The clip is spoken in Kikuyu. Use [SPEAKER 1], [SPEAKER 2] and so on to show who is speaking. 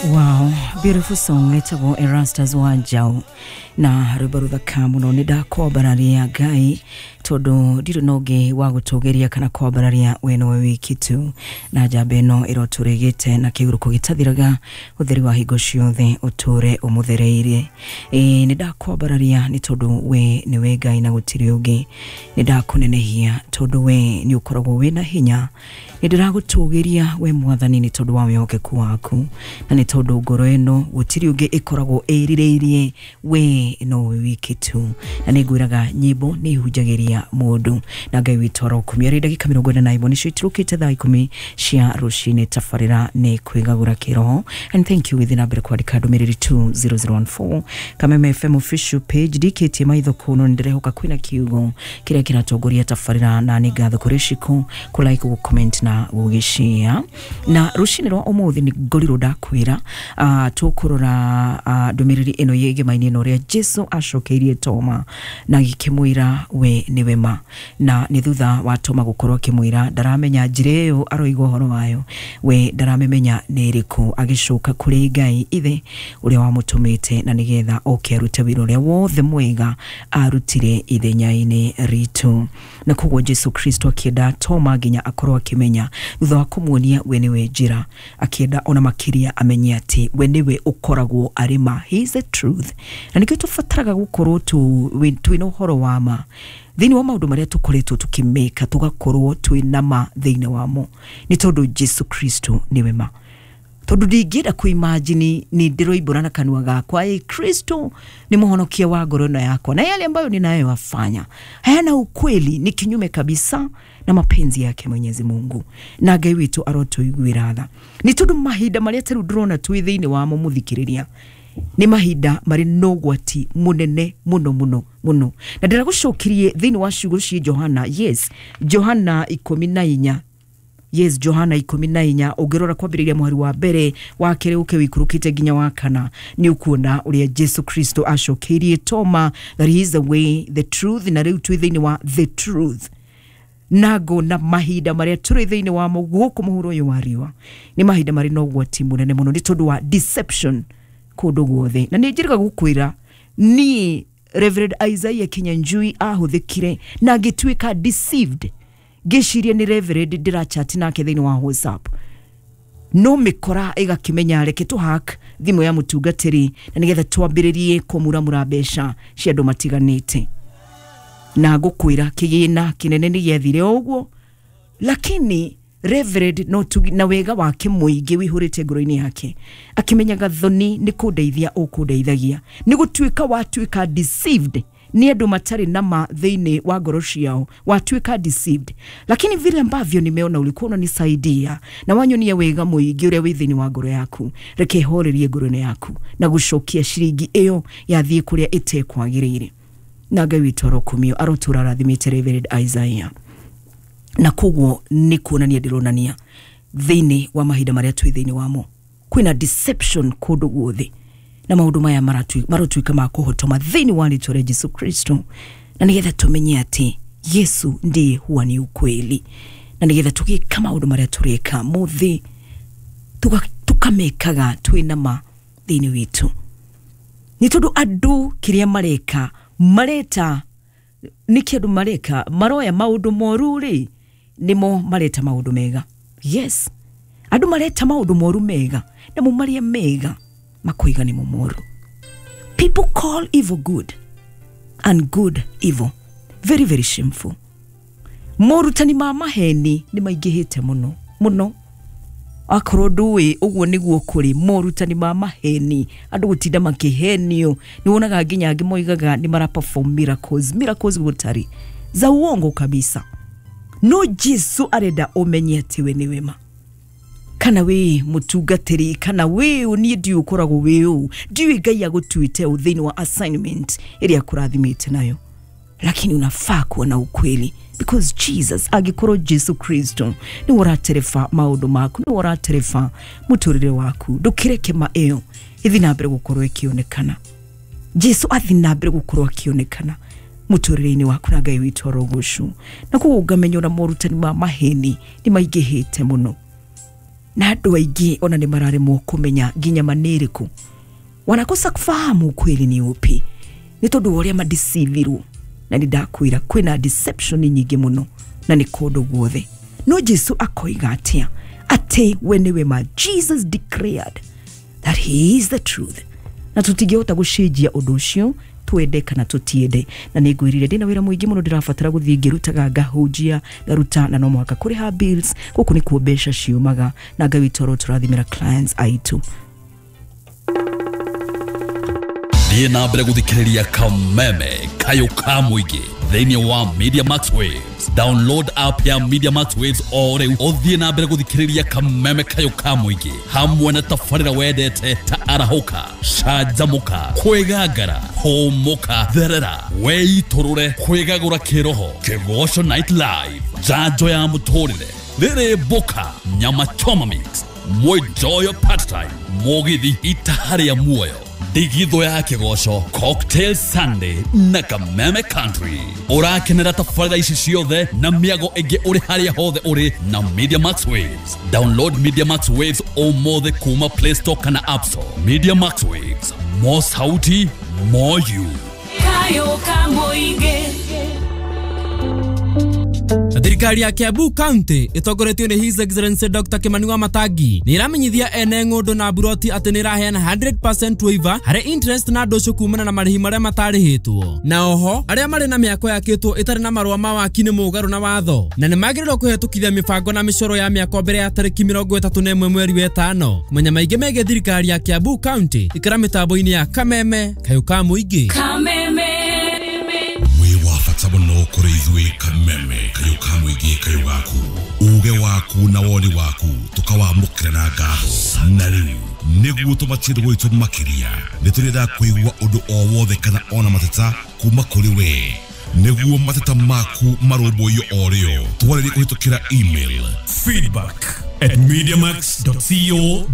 [SPEAKER 1] Wow, beautiful song etagwo Erastus wa Njau na rwĩmbo rũthaka mũno. Nĩ ndakwambararia Ngai tondũ ndirĩ na ũngĩ wa gũtũgĩria kana kwambararia we nowe wiki tu, na njamba ĩno ĩrotũrĩgĩte na kĩhurũko gĩtathiraga, ũtheri wa hingo ciothe ũtũre ũmũthereirie. Ĩĩ, nĩ ndakwambararia nĩ tondũ we nĩwe Ngai na gũtirĩ ũngĩ. Nĩ ndakũnenehia tondũ we nĩ ũkoragwo wĩna hinya. Nĩ ndĩragũtũgĩria we Mwathani nĩ tondũ wa wĩhokeku waku, na nĩ tondũ ngoro ĩno gũtirĩ ũngĩ ĩkoragwo ĩrirĩirie, we nowe wiki tu. Na nĩ ngwĩraga nyĩmbo nĩ ihunjagĩria mũndũ, na Ngai witũ arokumia. Rĩ ndagĩka 41 nĩcio itirũkĩte thaa 10 cia rũcinĩ. Tabarĩra nĩ kwĩgagũra kĩroho, and thank you gĩthiĩ na mbere kwandĩka ndũmĩrĩri 20014 Kameme FM official page. Ndikĩtie maitho kũno, nĩ ndĩrehoka kwĩna kiugo kĩrĩa kĩratongoria tabarĩra, na nĩ ngatho kũrĩ Shiko kũ like, gũ comment na gũgĩshare. Na rũcinĩ rwa ũmũthĩ nĩ ngorirwo ndakwĩra tũkũrora ndũmĩrĩri ĩno yĩgemainĩ ĩno, ũrĩa Jesu acokeirie Toma na gĩkĩmwĩra we nĩwe ma, na nĩ thutha wa Toma gũkorwo akĩmwĩra ndaramenya njĩra ĩyo aroiga ũhoro wayo, we ndaramĩmenya nĩ ĩrĩkũ, agĩcoka kũrĩ Ngai Ithe ũrĩa wamũtũmĩte na nĩgetha oke arute wĩra ũrĩa wothe mwega arutire ithenya-inĩ ritũ. Na koguo Jesu Kristo akĩenda Toma nginya akorwo akĩmenya, thutha wa kũmuonia we nĩwe njĩra, akĩenda ona makĩria amenye atĩ we nĩwe ũkoragwo arĩ ma. He is the truth, na nĩkĩo tũbataraga gũkorwo twĩna ũhoro wa ma thĩinĩ wa maũndũ marĩa tũkoretwo tũkĩmĩka, tũgakorwo twĩna ma thĩinĩ wamo, nĩ tondũ Jesu Kristo nĩwe ma. Tondũ ndingĩenda kũimagine nĩ ndĩroimbũra na kanua gakwa ĩ Kristo nĩ mũhonokia wa ngoro ĩno yakwa, na yale ambayo ninayoyafanya hayana ukweli, ni kinyume kabisa na mapenzi yake Mwenyezi Mungu. Na Ngai witũ arotũiguĩra tha, nĩ tondũ mahinda marĩa tarĩu ndĩrona twĩ thĩinĩ wamo, mũthikĩrĩria, nĩ mahinda marĩ na ũgwati mũnene mũno mũno mũno. Na ndĩragũcokirie thĩinĩ wa ciugo cia Johana, yes, Johana 14, yes, Johana 14, ũngĩrora kwambĩrĩria mũhari wa mbere, wa kerĩ, ũke wĩikũrũkĩte nginya wa kana, nĩ ũkuona ũrĩa Jesu Kristo acokeirie Toma that he is the way, the truth. Na rĩu twĩ thĩinĩ wa the truth, na ngona mahinda marĩa tũrĩ thĩinĩ wamo gũkũ mũhuro ũyũ wa riũa nĩ mahinda marĩ na ũgwati mũnene mũno, nĩ tondũ wa deception kũndũ guothe. Na nĩ njĩrĩga gũkwĩra niĩ Reverend Isaiah Kinyanjui ahũthĩkire na ngĩtuĩka deceived, ngĩciria nĩ Reverend ndĩrachat nake thĩinĩ wa WhatsApp, no mĩkora ĩgakĩmenya reke tũ hack thimũ ya mũtungatĩri na nĩgetha twambĩrĩrie kũmuramura mbeca cia andũ matiganĩte. Na ngũkwĩra kĩgĩna kĩnene nĩ gĩathire o ũguo, lakini Reverend no tu, na wega wake mũingĩ wĩihũrĩte ngoro-inĩ yake, akĩmenyaga thoni nĩ kũndeithia ũkũndeithagia, nĩ gũtuĩka watuĩka deceived nĩ andũ matarĩ na ma thĩinĩ wa ngoro ciao, watuĩka deceived. Lakini vile ambavyo nimeona ulikuwa unanisaidia na wanyonia wega mũingĩ ũrĩa wĩ thĩinĩ wa ngoro yaku, reke horerie ngoro-inĩ yaku na gũcokia ciringi ĩyo yathiĩ kũrĩa ĩtekwagĩrĩire. Na Ngai witũ arokumio, arotũra arathimĩte Reverend Isaiah. Na koguo nĩ kuonania ndĩronania thĩinĩ wa mahinda marĩa twĩ thĩinĩ wamo kwĩna deception kũndũ guothe, na maũndũ maya marotuĩka ma kũhotoma thĩinĩ wa rĩtwa rĩa Jesu Kristo, na nĩgetha tũmenye atĩ Yesu ndiye huwa ni ukweli, na nĩgetha tũgĩka maũndũ marĩa tũreka mũthĩ tũkamekaga twĩna ma thĩinĩ witũ, nĩ tondũ andũ kĩrĩa mareka mareta nĩkĩ andũ mareka maroya maũndũ moru rĩ, nĩmo mareta maũndũ mega. Yes, andũ mareta maũndũ moru mega, namo marĩa mega makoiga nĩmo moru. People call evil good and good evil. Very very shameful. Morutani ma maheni nĩ maingĩhĩte mũno mũno. Akorwo ndũĩ ũguo nĩguo kũrĩ morutani ma maheni, andũ gũtinda makĩhenio. Nĩ wonaga nginya angĩ moigaga nĩ mara perform miracles, miracles gũtarĩ, za uongo kabisa. No Jesu arenda ũmenye atĩ we nĩwe ma. Kana wĩ mũtungatĩri, kana wĩ ũ, niĩ ndiũ ũkoragwo wĩ ũ, ndiũĩ Ngai agũtuĩte ũ thĩinĩ wa assignment ĩrĩa akũrathimĩte nayo, lakini unafaa kuwa na ukweli, because Jesus, angĩkorwo Jesu Kristo nĩwe ũratereba maũndũ maku, nĩwe ũratereba mũtũrĩre waku, ndũkĩreke ma ĩyo ĩthiĩ na mbere gũkorwo ĩkĩonekana. Jesu athiĩ na mbere gũkorwo akĩonekana mũtũrĩre-inĩ waku, na Ngai witũ arogocwo. Na koguo ngamenya ona morutani ma maheni nĩ maingĩhĩte mũno. Na andũ aingĩ ona nĩ mararemwo kũmenya nginya ma nĩ ĩrĩkũ, wanakosa kufahamu ukweli ni upi nĩ tondũ wa ũrĩa madeceivirwo. Na nĩ ndakwĩra kwĩna deception nyingĩ mũno na nĩ kũndũ guothe. No Jesu akoiga atĩa? Atĩ we nĩwe ma. Jesus declared that he is the truth, na tũtingĩhota gũcenjia ũndũ ũcio, twende kana tũtiende. Na nĩ ngwĩrire ndĩna wĩra mũingĩ mũno ndĩrabatara gũthiĩ ngĩrutaga, ngahunjia, ngaruta, na no mũhaka kũrĩha bills. Gũkũ nĩkuo mbeca ciumaga, na Ngai witũ arotũrathimĩra clients aitũ.
[SPEAKER 2] Thiĩ na mbere gũthikĩrĩria Kameme Kayũ ka mũingĩ thĩinĩ wa Media Max Waves. Download app ya Media Max Waves o rĩu, ũthiĩ na mbere gũthikĩrĩria Kameme Kayũ ka mũingĩ hamwe na tabarĩra wendete ta Arahũka, Canjamũka, Kwĩgangara, Hũmũka, Therera, Wĩitũrũre, Kwĩgagũra Kĩroho, Kĩgoco Night Live, Njanjo ya Mũtũrĩre, Rĩrĩ Mbũka, Nyama Choma Mix, Mwenjoyo Part Time, Mũgithi Itaha rĩa Muoyo, Ndigithũ ya Kĩgoco, Cocktail Sunday na Kameme Country. Ũrakenera tabarĩra ici ciothe na mĩago ĩngĩ ũrĩ harĩa hothe ũrĩ na Media Max Waves. Download Media Max Waves ũmũthĩ kuma Play Store kana App Store. Media Max Waves, more sauti, more you.
[SPEAKER 3] Kayo ka mũingĩ.
[SPEAKER 4] Thirikari ya Kiambu County ĩtongoretio nĩ His Excellency Dr. Kimani wa Matangi nĩ ĩramenyithia ene ng'ũndũ na mburoti atĩ nĩ ĩraheana 100% waiver harĩ interest na ndũcũ kumana na marĩhi marĩa matarĩhĩtwo. Na oho arĩa marĩ na mĩako yakĩtwo ĩtarĩ na marũa ma waki nĩ mũgarũ na watho, na nĩ magĩrĩirwo kũhetũkithia mĩbango na mĩcoro ya mĩako mbere ya tarĩki 31 mweri wa 5. Kũmenya maingĩ megiĩ thirikari ya Kiambu County, ikara mĩtambo-inĩ ya Kameme Kayũ ka mũingĩ.
[SPEAKER 3] Kameme.
[SPEAKER 5] Wĩ wa bata mũno kũrĩ ithuĩ Kameme Kayũ ka mũingĩ, kayũ gaku, uge waku na woni waku tũkawamũkĩra na ngatho. Na rĩu nĩguo tũmatie gwitũ makĩria, nĩ tũrenda kũigua ũndũ o wothe kana ona mateta kuma kũrĩ we, nĩguo mateta maku marũmbũiyo o rĩo. Twarĩrie kũhĩtũkĩra email
[SPEAKER 6] feedback@mediamax.co.